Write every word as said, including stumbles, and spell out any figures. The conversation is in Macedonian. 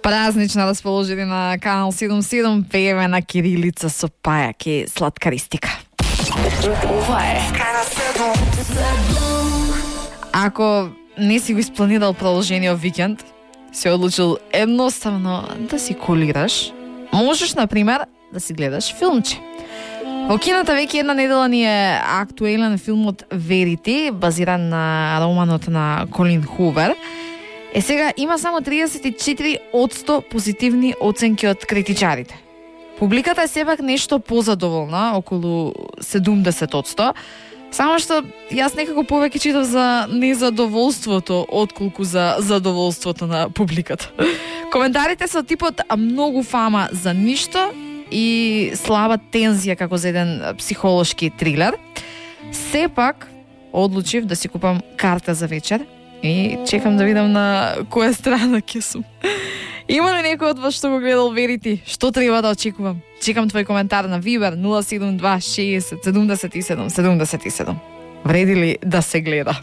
Празнично расположени на Канал седумдесет и седум, пееме на кирилица со пајаки сладкаристика. Ова е Ако не си го испланирал продолжениот викенд, си одлучил едноставно да си колираш, можеш, например, да си гледаш филмче. Во кината веќе една недела ни е актуелен филмот Verity, базиран на романот на Колин Хувер. Е сега има само триесет и четири одсто позитивни оценки од критичарите. Публиката е сепак нешто позадоволна, околу седумдесет одсто, само што јас некако повеќе читав за незадоволството отколку за задоволството на публиката. Коментарите се типот многу фама за ништо и слаба тензија како за еден психолошки трилер. Сепак одлучив да си купам карта за вечер и чекам да видам на која страна ќе сум. Има ли некој од вас што го гледал Verity? Што треба да очекувам? Чекам твој коментар на Viber нула седум два шеесет седумдесет и седум седумдесет и седум. Вреди ли да се гледа?